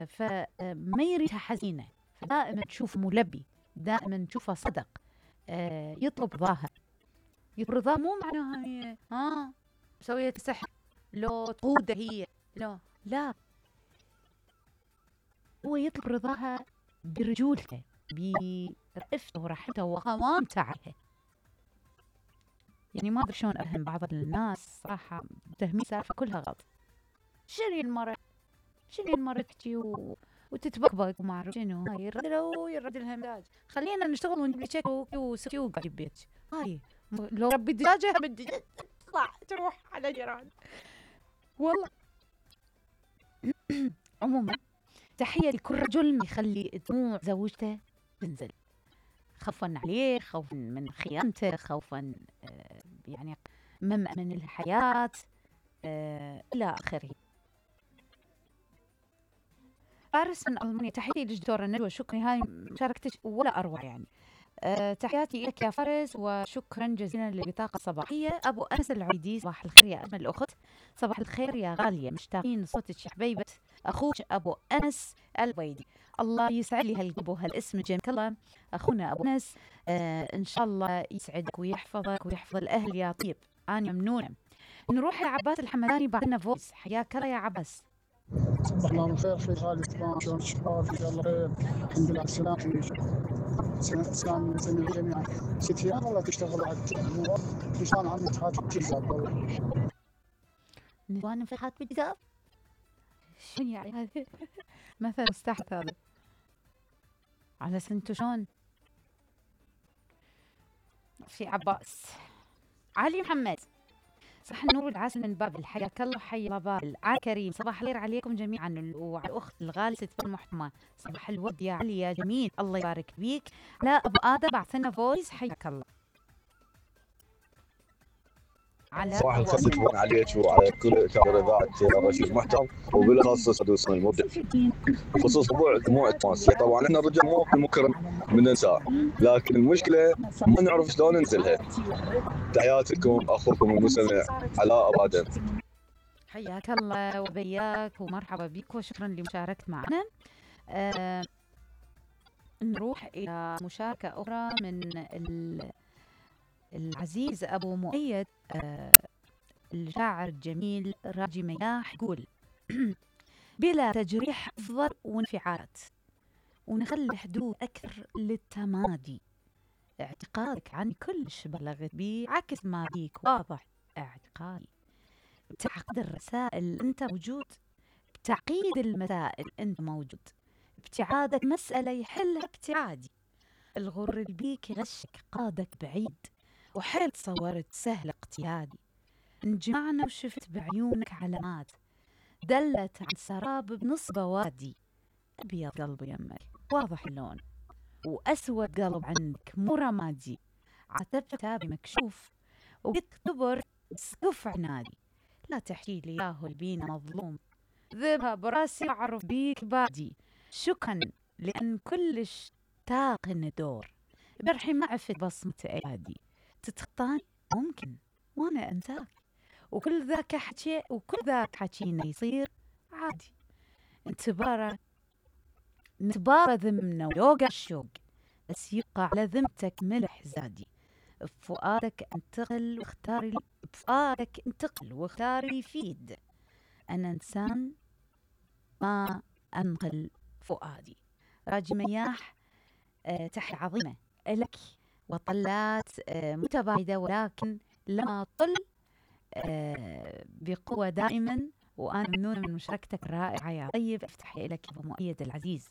فما يريدها حزينة، فدائما تشوف ملبي، دائما تشوفه صدق. يطلب رضاها. يطلب رضاها مو معناها هي سويت سحر لو تقوده هي، لا، هو يطلب رضاها برجولته، برأفته ورحمته وقوامته عليها. يعني ما ادري شلون افهم بعض الناس صراحه متهمين سالفه كلها غلط. شنو مرتي وتتبقبق وما اعرف شنو، هاي يرد لها مزاج. خلينا نشتغل ونجيب لي شيك وسكيو قاعد ببيت. هاي لو ربي دجاجه تطلع تروح على جيران والله. عموما تحيه لكل رجل يخلي دموع زوجته تنزل، خوفا عليه، خوفا من خيانته، خوفا يعني من الحياة إلى آخره. فارس من ألمانيا، تحياتي للدكتورة نجوى، شكرا، هاي مشاركتك ولا أروع يعني. تحياتي لك يا فارس وشكرا جزيلا للبطاقة الصباحية. أبو أنس العيدي، صباح الخير يا أجمل الأخت، صباح الخير يا غالية، مشتاقين صوتك يا حبيبة أخوك أبو أنس العيدي. الله يسعد لي هالقلب وهالاسم الجميل. الله أخونا أبو أنس، إن شاء الله يسعدك ويحفظك ويحفظ الأهل يا طيب. أنا ممنونة. نروح لعباس الحمداني، بعدنا فويس. حياك الله يا عباس. صباح الله بالخير في غالي طبعا، شلون الشباب؟ ان شاء الله خير، الحمد لله على السلامة. سلام سنة جميعا. ست ايام والله تشتغل على نسوان عم فتحات بالجزاب. نسوان فتحات بالجزاب؟ شنو يعني هذا؟ مثل مستحث هذا. على سنتو شلون؟ في عباس. علي محمد، صح النور والعسل من بابل، حياك الله، حي الله بابل. علي كريم، صباح الخير عليكم جميعا وعلى الاخت الغاليه ست المحتمى، صباح الورد يا علي يا جميل، الله يبارك فيك. لا ابو ادم بعثنا فويس، حياك الله. صباح الخير تبون عليك وعلى كل كاميرا اذاعه رشيد محترم، وبالاخص سدوس المبدع بخصوص موضوع دموع التماسيح. طبعا احنا الرجال مو مكرم من النساء، لكن المشكله ما نعرف شلون ننزلها. تحياتكم اخوكم المستمع علاء ابو ادم. حياك الله وبياك ومرحبا بك وشكرا لمشاركتك معنا. نروح الى مشاركه اخرى من العزيز أبو مؤيد، الشاعر الجميل راجي مياح، يقول بلا تجريح أفضل وانفعالات، ونخلي حدود أكثر للتمادي. اعتقادك عن كل بلغت بي عكس ما بيك واضح اعتقادي. بتعقيد الرسائل أنت موجود، بتعقيد المسائل أنت موجود، ابتعادك مسألة يحلها ابتعادي. الغر اللي بيك يغشك قادك بعيد، وحيل تصورت سهل اقتيادي. انجمعنا وشفت بعيونك علامات دلت عن سراب بنص بوادي. أبيض قلب يمك واضح اللون، وأسود قلب عندك مو رمادي. عتب كتابي مكشوف وبتكبر سقف عنادي. لا تحكي لي ياهو البينا مظلوم، ذبها براسي أعرف بيك بادي. شكرا لأن كلش تاقن دور، برحي ما عفت بصمة أيادي. تتخطاني ممكن وانا انساك، وكل ذاك حكينا يصير عادي. نتبارى ذمنا ويوقع الشوق، بس يبقى على ذمتك ملح زادي. بفؤادك انتقل واختاري يفيد. انا انسان ما انقل فؤادي. راجي مياح، تحية عظيمة لك وطلات متباعدة، ولكن لما طل بقوة دائما. وأنا ممنونة من مشاركتك الرائعة يا طيب. افتح لك أبو مؤيد العزيز.